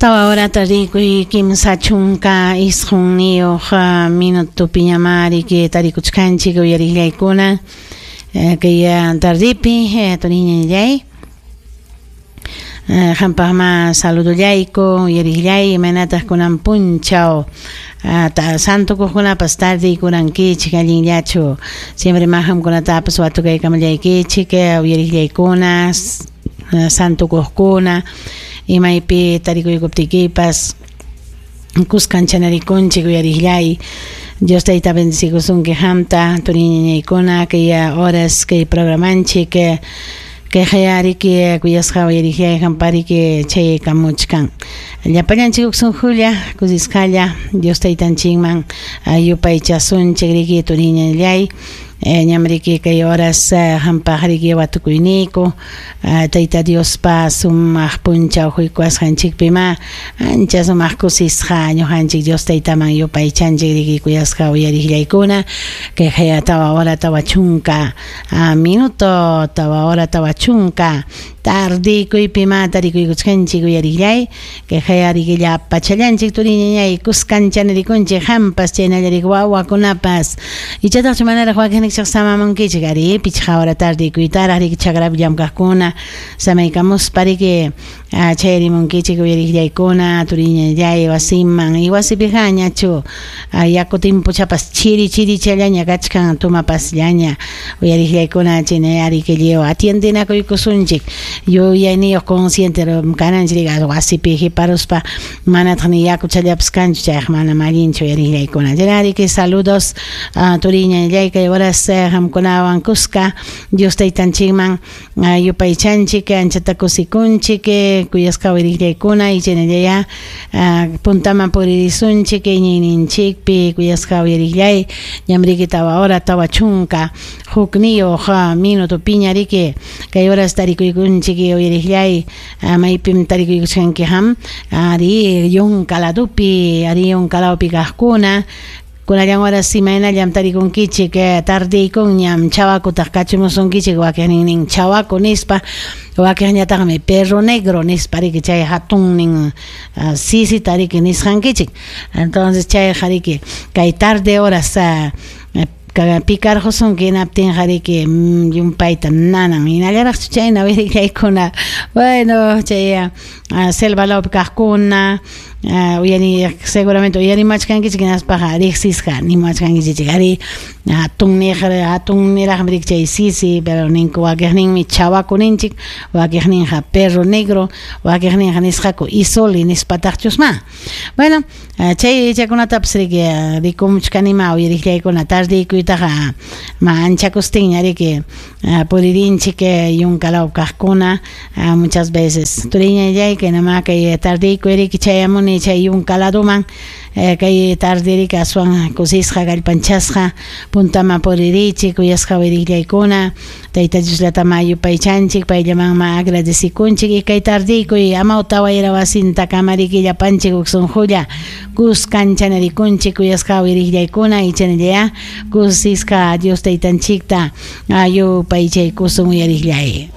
Tawa horata rikuy 39 minutopiñamá riki tarikuchkanchik uyariqllaykuna kay tardipi turiñallay qampaqma saludollayku uyariqllay imaynataq kunan punchaw santukuqkunapas tardiykurankichik allinllachu siempre ma qamkunatapas watukaykamallaykichik uyariqllaykuna santukuqkuna imaypi tarikuykuptikipas kuskancha-narikunchik uyariqllay Dios tayta bendecikusunki qamta turiñañaykuna kay horas kay programanchik kay riki kuyasqa uyariqllay qampariki chayaykamuchkan llapallanchik huk sunqulla kusisqalla Dios taytanchikman yupaychasunchik riki turiñallay ñam riki kay horas qampaq riki watukuyniyku Tayta Diospa sumaq punchaw huykuwasqanchikpimá ancha sumaq kusisqa ñuqanchik Dios taytaman yupaychanchik riki kuyasqa uyariqllaykuna kay 4 hora 40 minuto 4 hora 40 tardikuypimá tarikuykuchkanchik uyariqllay kay riki llapachallanchik turiñañay kuskanchanarikunchik qampas chaynalla riki wawakunapas ichataqchu manaraq wakinnikichik samamunkichik ari 5 hora tardikuytaraq riki chakrapi llamkaqkuna samaykamuspa riki chayarimunkichik uyariqllaykuna turiñallay wasiman y wasipiqa ñachu yaku timpuchapas chiri chirichallaña kachkan tumapasllaña uyariqllaykuna chayna riki lliw atiendenakuykusunchik yuyayniyuq consciente kananchik wasipi qiparuspa manataq ni yakuchallapas kanchu chayqa manam allinchu uyariqllaykuna chayna riki saludos turiñallay kay horas qamkunawan kuska Dios taytanchikman yupaychanchik anchata kusikunchik kuyasqa uyariqllaykuna y chaynallaya puntaman puririsunchik iñiyninchikpi kuyasqa uyariqllay ñam riki 4 hora 41 minutopiña riki kay horas tarikuykunchik uyariqllay maypim tarikuykuchkanki qam ari yunka ladopi ari yunka lawpi kaqkuna kunallan horas imaynallam tarikunkichik tardiykunñam chawakutaq kachumusunkichik wakinnin chawaku nispa wakinñataqmi perro negro nispa riki chay hatunnin sisita riki nisqankichik entonces chayqa riki kay tarde horas picarqusunki hinaptinqa riki llumpayta nanan hinallaraqchu chayna uyariqllaykuna bueno chay selva lawpi kaqkuna uyari seguramente uyarimachkankichik hinaspaqa riqsisqa nimachkankichik ari hatunniraqmi riki chay sisi pero ninku wakiqninmi chawaku ninchik wakiqninqa perro negro wakiqninqa nisqaku isoli nispataqchusma bueno chay chaykunatapas riki rikumuchkanima uyariqllaykuna tardiykuytaqa ma anchakustinña riki puririnchik yunka law kaqkuna muchas veces turiñallay kaynama kay tardiykuy riki chayamuni chay yunka laduman kay tarde riki aswan kusisqa kallpanchasqa puntaman puririchik kuyasqa uyariqllaykuna Tayta Diosllatamá yupaychanchik payllamanma agradecikunchik y kay tardiykuy amawta wayra wasintakama riki llapanchik huk sunqulla kuskanchanarikunchik kuyasqa uyariqllaykuna y chaynallaya kusisqa Dios taytanchikta yupaychaykusun uyariqllay.